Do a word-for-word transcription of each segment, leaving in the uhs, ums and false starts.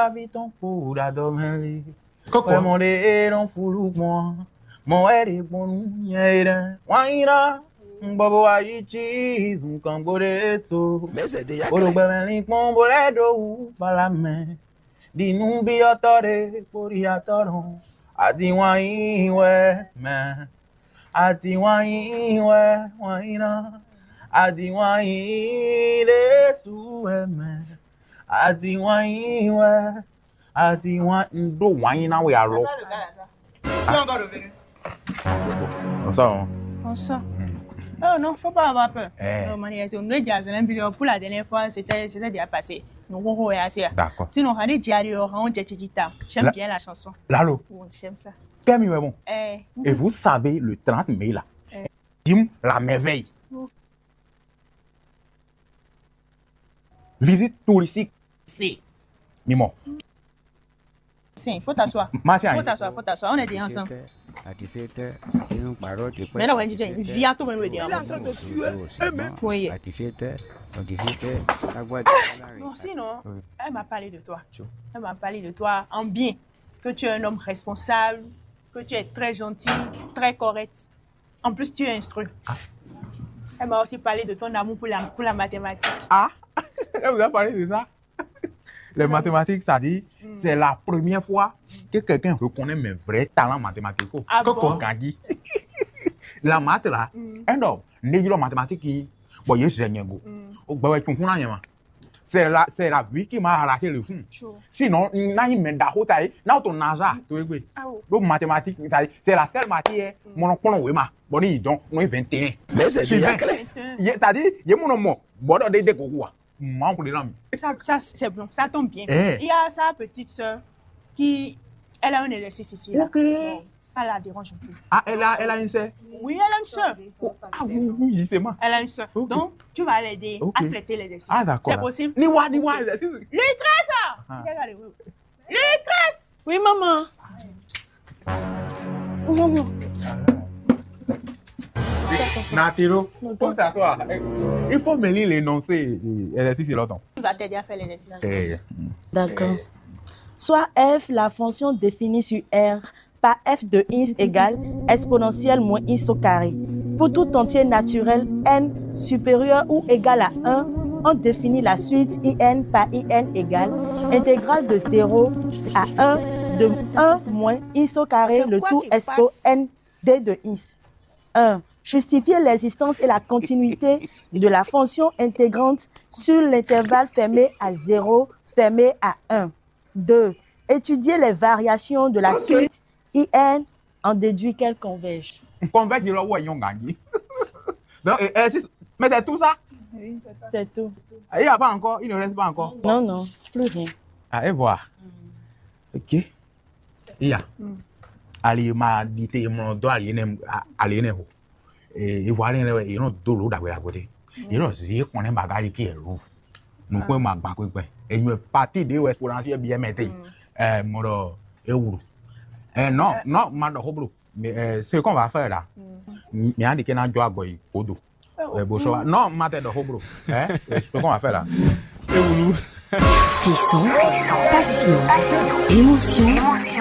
Avi tɔn kpo ɖo adɔ mɛ lé. Kókó. Wɛ mɔ ɖe e nɔ fulu gbɔn. Mɔ wɛ ɖe gbɔn nú nyɛ e ɖe. Wanyina. Gbɔbɔ wa yi ci zun kan gbo ɖe to. Mɛsɛ de ya Bolo kɛlɛ. Gbɛmɛ linkpɔn bo lɛ ɖo wu bala mɛ. Ɖi nú byɔtɔ ɖe kpo ɖi atɔ nɔ. Adi wanyi wɛ mɛ. Adi wanyi wɛ wanyina. Adi wanyi ɖe su wɛ mɛ. Adi wanyi wɛ. Ati wan un ɖó wǎn nyi ná we alɔ. Bonsoir. Bonsoir. Oh non, faut pas avoir peur. Eh. Non, Mani, on nous dit à Zénène Bilio pour la dernière fois, c'était c'était déjà passé. Donc on va essayer. D'accord. Sinon, on a dit Diario, on dit Tchita. J'aime bien la chanson. Lalo. Oui, j'aime ça. Kẹ́mi wẹ̀ mọ̀. Eh. Et vous savez, le trente mai là, eh. Dim la merveille. Oh. Visite touristique. Si. Mimɔ. Si, faut t'asseoir. Martial. Faut t'asseoir, faut t'asseoir. On est déjà ensemble. Mais là, on est déjà, viens, toi-même, le Il est en train de suer. Oui. Non, sinon, elle m'a parlé de toi. Elle m'a parlé de toi en bien. Que tu es un homme responsable, que tu es très gentil, très correct. En plus, tu es instruit. Elle m'a aussi parlé de ton amour pour la, pour la mathématique. Ah, elle vous a parlé de ça? Les mathématiques, ça dit, c'est la première fois que quelqu'un reconnaît mes vrais talents mathématiques. Ah bon? Koko Gandhi. La maths là, un homme, né il mathématiques, bon, il est génial. Au gbawe tu kuna yema. C'est la, c'est la vie qui m'a arraché le fond. Sinon, n'a une main d'arrêt, n'a ton naza, tu es. Donc mathématiques, c'est la seule matière, mon nom, oui, ma. Bon, il donc, non, vingt et un. Mais c'est déjà clair. C'est-à-dire, il y a mon nom, bon, des des gogoua. Manque de l'âme. Ça, ça c'est bon, ça tombe bien. Eh. Il y a sa petite sœur qui, elle a un exercice ici. Là. Ok. Bon, ça la dérange un peu. Ah, elle a, elle a une sœur? Oui, elle a une sœur. Oh, ah oui, oui, justement. Elle a une sœur. Ok. Donc, tu vas l'aider à traiter l'exercice. Ah, d'accord. C'est possible? Niwa, niwa, ok. L'exercice. Ah. Regarde, oui. Lucas! Oui, maman. Natiro, pose à toi. Il faut me lire l'énoncé. Elle est ici longtemps. On va t'aider à faire l'exercice. Eh. D'accord. Soit F, la fonction définie sur R par F de Hins égale exponentielle moins Hins au carré. Pour tout entier naturel n supérieur ou égal à un, on définit la suite I N par I N égale intégrale de zéro à un de un moins Hins au carré le tout expo n d de Hins. Un. Justifier l'existence et la continuité de la fonction intégrante sur l'intervalle fermé à zéro, fermé à un. Deux. Étudier les variations de la suite I N en déduit qu'elle converge. Converge, il y a un gagné. Donc, et, et si- mais c'est tout ça. C'est tout. Il n'y a pas encore, il ne reste pas encore. Non, non, plus rien. Ah, et voilà. Ok. Il y a. Ali ma di te mlɔ dɔ ali ne ali ne ho. E vo ali ne e no do lo dagbe dagbe de. E no zi kɔn ne baga yi ki elu. Nu ko ma gba ko gbe. E nyu parti de wɛ exponentiel bien mete. Eh, moro e wulu. Eh, non, non, ma do hoblo. Mais euh, ce qu'on va faire là, mi andi ke na jo agoyi kodo. Eh, bonsoir. Non, ma te do hoblo. Hein? Eh, ce qu'on va faire là. Frisson, passion, émotion,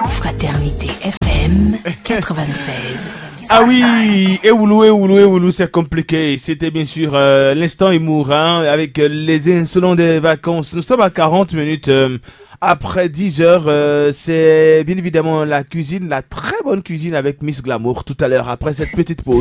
fraternité F M quatre-vingt-seize. Ah oui, Ewoulou, Ewoulou, Ewoulou, c'est compliqué. C'était bien sûr euh, l'instant humour hein, avec euh, les insolents des vacances. Nous sommes à quarante minutes euh, après dix heures. Euh, c'est bien évidemment la cuisine, la très bonne cuisine avec Miss Glamour tout à l'heure après cette petite pause.